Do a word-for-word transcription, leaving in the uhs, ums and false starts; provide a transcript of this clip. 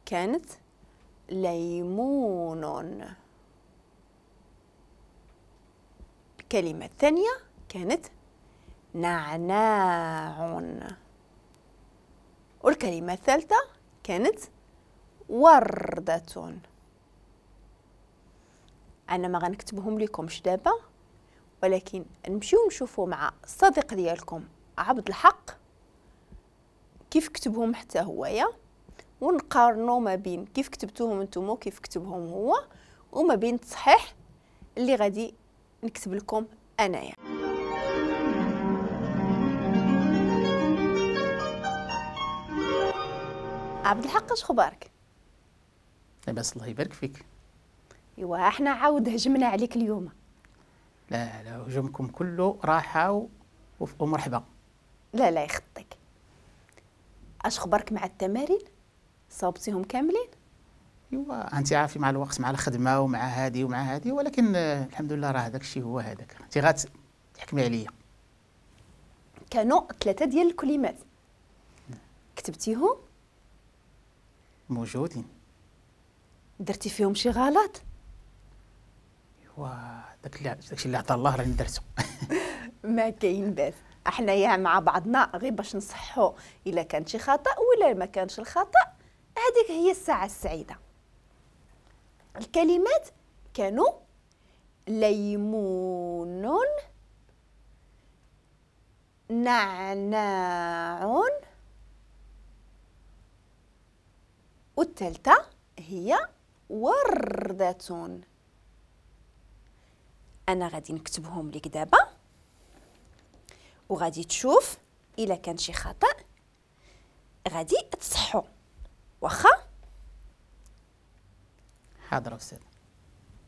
كانت ليمون. الكلمة الثانية كانت نعناع. والكلمة الثالثة كانت وردة. أنا ما غنكتبهم لكمش دابا، ولكن نمشيو نشوفوا مع الصديق ديالكم عبد الحق كيف كتبهم حتى هويا، ونقارنوا ما بين كيف كتبتوهم نتوما وكيف كتبهم هو، وما بين التصحيح اللي غادي نكتب لكم انايا. عبد الحق اش خبارك؟ لاباس الله يبارك فيك. ايوا احنا عاود هجمنا عليك اليوم. لا لا، هجومكم كله راحة ومرحبا. لا لا يخطيك. اش خبارك مع التمارين؟ صوبتيهم كاملين؟ ايوا انت عارفه مع الوقت، مع الخدمة ومع هادي ومع هادي، ولكن الحمد لله راه هذاك الشيء هو هذاك. انت غتحكمي عليا. كانوا ثلاثة ديال الكلمات كتبتيهم؟ موجودين. درتي فيهم شي غلط؟ ايوا داك اللي داكشي اللي عطا الله راني درتو. ما كاين باس، احنايا مع بعضنا غير باش نصحوا الا كان شي خطا ولا ما كانش الخطا. هذيك هي الساعة السعيدة. الكلمات كانوا ليمون، نعناع، والثالثة هي وردة. أنا غادي نكتبهم لك دابا وغادي تشوف إلا كان شي خطأ غادي تصحو. واخا؟ حاضر أستاذ.